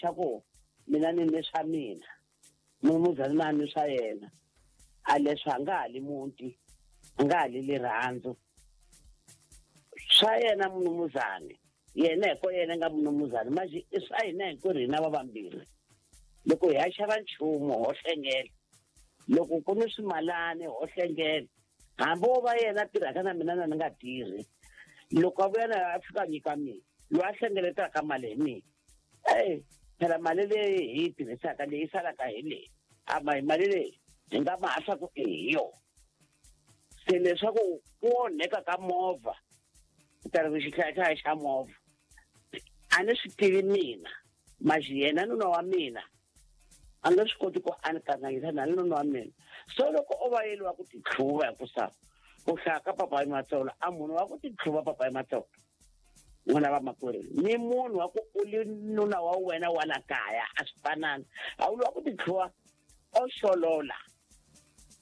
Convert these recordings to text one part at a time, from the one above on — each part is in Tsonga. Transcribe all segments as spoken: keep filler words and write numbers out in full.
xa ku mina ni ni swa mina munumuzana na ni swa yena a leswi a nga hali muti a nga hali rirhandzu swa yena munumuzani yena hi ko yena nga munumuzani manje i swa hina hinkwerhu hina va vambirhi loko hi ya xava nchumu ho hlengela loko ku ni swimalani ho hlengela hambi wo va yena tirhaka na mina na ni nga tirhi loko a vuya na a fika a nyika mina loyi a hlengeletaka mali hi mina e phela mali leyi hi yi tirhisaka leyi salaka hi leyi a ma hi mali leyi hi nga ma ku i hi yona se leswaku ku onheka ka movha ta ri xihlayahlaya xa movha a ni swi tivi mina maxi yena nuna wa mina a nga swi koti ku a ni kanganyisa na nuna wa mina so loko o va yeliwa ku titlhuva hi ku sa ku hlaya ka papayi Matsolo a munhu wa ku titlhuva papayi Matsolo n'wana va makwerhu ni munhu wa ku u li nuna wa wena wa la kaya a swi fanani a wu wa ku titlhuva o xolola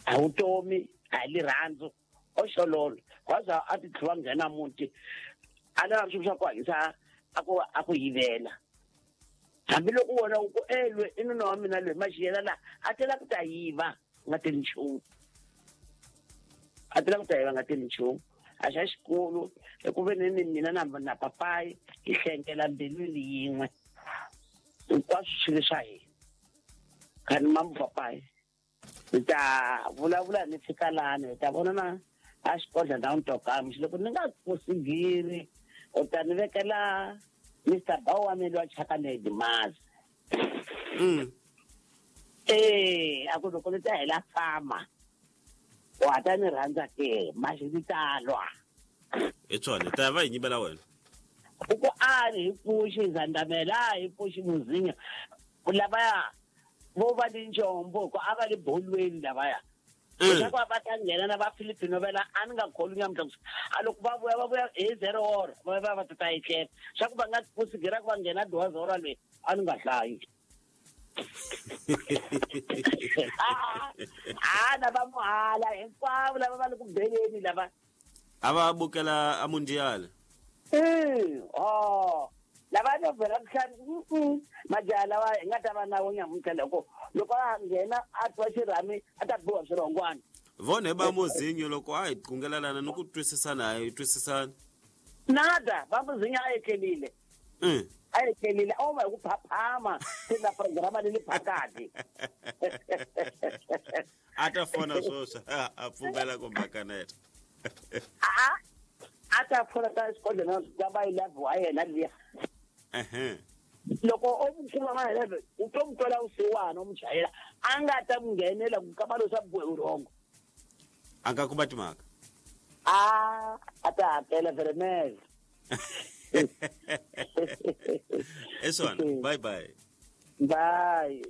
a vutomi a hi rirhandzu o xolola waza a titlhuva nghena muti a lava swilo swa ku hanyisa a ku a ku yivela hambiloko wona u ku e lwe i nuna wa mina loyi maxi yena la a tela ku ta yiva nga teli nchumu a tela ku ta yiva nga teli nchumu a xa xikulu hi ku ve ni ni mina na na papayi hi hlengela mbilwini yin'we hinkwaswo swilo swa hina khani mamu papayi hi ta vulavula ni fika lani hi ta vonana a xikodla ndhawu ni loko ni nga kusigiri u ta ni vekela Mister Bawa wa mina wa chaka dimazi mm eh a ku loko ni ta hela fama wa ta ni rhandza ke maxi ni ta lwa hi swona ta va hi nyimela wena u ku a ni hi pfuxi zandamela hi pfuxi muzinya lavaya vo va ni njombo ku a va le bolweni lavaya leswaku va ta nghena na va Filipino vela a ni nga kholwi nyamuntlha ku a loko va vuya va vuya hi zero hora va va va ta ta etlela swa ku va nga kusigera ku va nghena dwaza hora leyi a ni nga hlayi a na va muhala hinkwavo lava va le ku beleni lava a va bukela a mundial e o lava no vela kuhlani majaha lawa hi nga ta va na wo nyamuntlha loko loko a nghena a twa xirhami a ta biwa swirhongwana vone ba muzinyo loko a hi qungelelana ni ku twisisana a hi twisisana nada va muzinyo a etlelile mm. a etlelile a va hi ku phaphama se na programa le le phakati a ta fona swoswo a pfumela ku makaneta a a ta fona ka xikodlhela ka va eleven wa yena liya ehe loko o mu kuma ma eleven u to mu twela vusiwana u mu chayela a nga ta mu nghenela ku kamba leswa biwe vurhongo a nga kuma timhaka a a ta hakela veremele i swona bye bye bye.